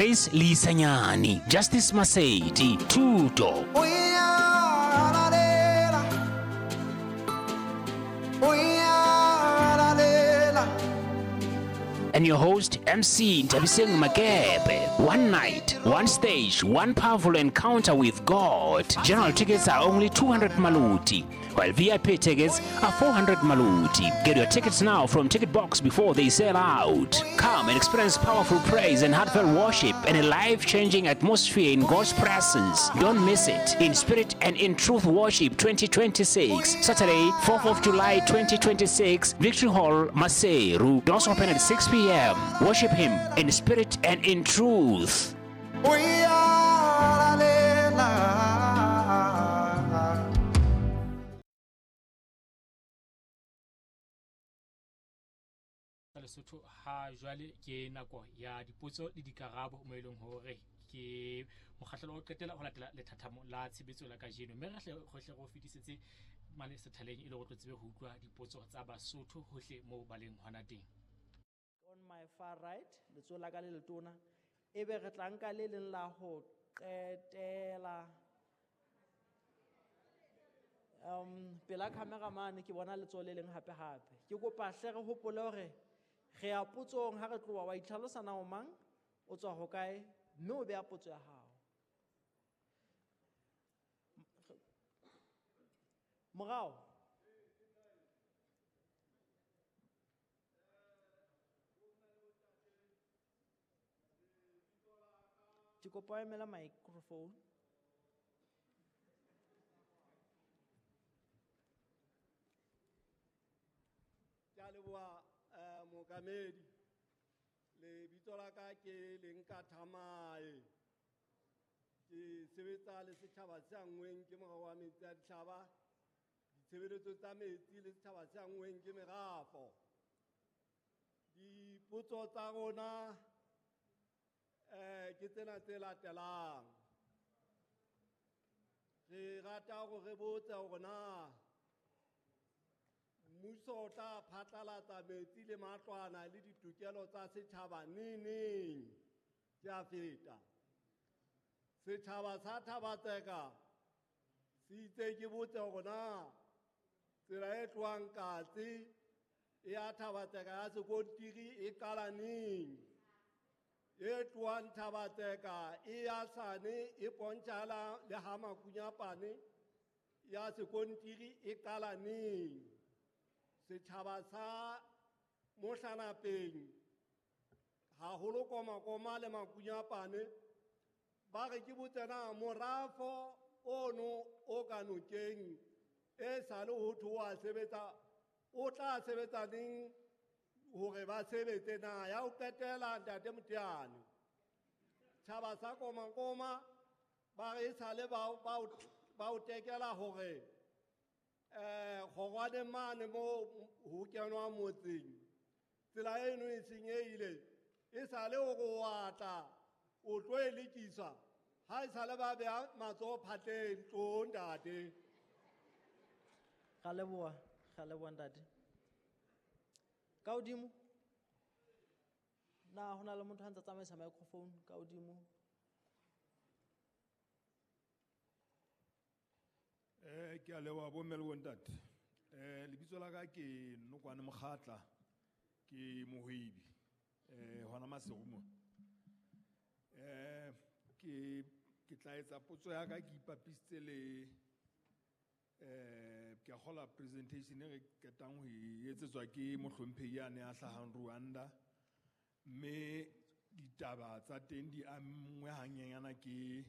Chris Leisanyane, Justice Masedi, Thuto. And your host, MC Nthabiseng Makepe. One night, one stage, one powerful encounter with God. General tickets are only 200 maluti, while VIP tickets are 400 maluti. Get your tickets now from Ticket Box before they sell out. Come and experience powerful praise and heartfelt worship and a life-changing atmosphere in God's presence. Don't miss it. In Spirit and in Truth Worship 2026, Saturday, 4th of July 2026, Victory Hall, Maseru. Doors open at 6 p.m. Worship Him in spirit and in truth. Lesotho ha jwale ke nako ya dipotso le dikarabo mo eleng hore ke mokgahlelo o qetela ho latela lethathamo la tshebetso la kajeno, mme re hle hohle go fetisetse mane sethaleng e le go tlo tsebe ho utlwa dipotso tsa Basotho hohle moo ba leng hona teng. On my far right, letsoho la ka le letona, ebe re tla nka le leng la ho qetela. Pela camera mane ke bona letsoho le leng hape hape. Ke kopa hle re hopole hore re ya potsong ha re tloha, wa itlhalosa na o mang, o tswa hokae, mme o beha potso ya hao. Morao. Ke kopa o emela microphone. Ke a leboha, mookamedi. Lebitso la ka ke Lenka Thamae. Ke sebetsa le setjhaba se anngweng ke morao wa metsi a ditjhaba, ditshebeletso tsa metsi le setjhaba se anngweng ke merafo. Dipotso tsa rona ke tsena tse latelang. Re rata hore re botse hore na mmuso o tla phatlalatsa metsi le matlwana le ditokelo tsa setjhaba neneng? Ke a feta. Setjhaba sa Thabatseka se itse ke botse hore na tsela e tlohang Katse e ya Thabatseka ya sekontiri e qala neng? E tlohang Thabatseka e ya Sane e pontšhala le ha Makunyapane ya sekontiri e qala neng? Setjhaba sa Mohlanapeng haholo Komakoma le Makunyapane ba re ke botse na morafo ono o ka nokeng e sale ho thwe wa sebetsa, o tla sebetsa neng hore ba sebetse na? Ya ho qetela ntate Moteane, tjhaba sa Komakoma ba re e sale ba o tekela hore kgorwane mane mo ho kenwa motseng, tsela eno e senyehile, e sale hore o a tla o tlo e lekisa, ha e sale ba beha matsoho phatleng, tlo ntate. Ra leboha, ra leboha ntate. Ka hodimo? Na ho na le motho a ntsa tsamaisa microphone ka hodimo? Ke a leboha bomme le bontate. Lebitso la ka ke Nokwane Mokgatla, ke mohwebi, hona Maseru mona. Ke tla etsa potso ya ka ke ipapisitse le, ke a kgolwa presentation e re qetang ho e etsetswa ke mohlomphehi yane a hlahang Rwanda, mme ditaba tsa teng di amngwe hanyenyana ke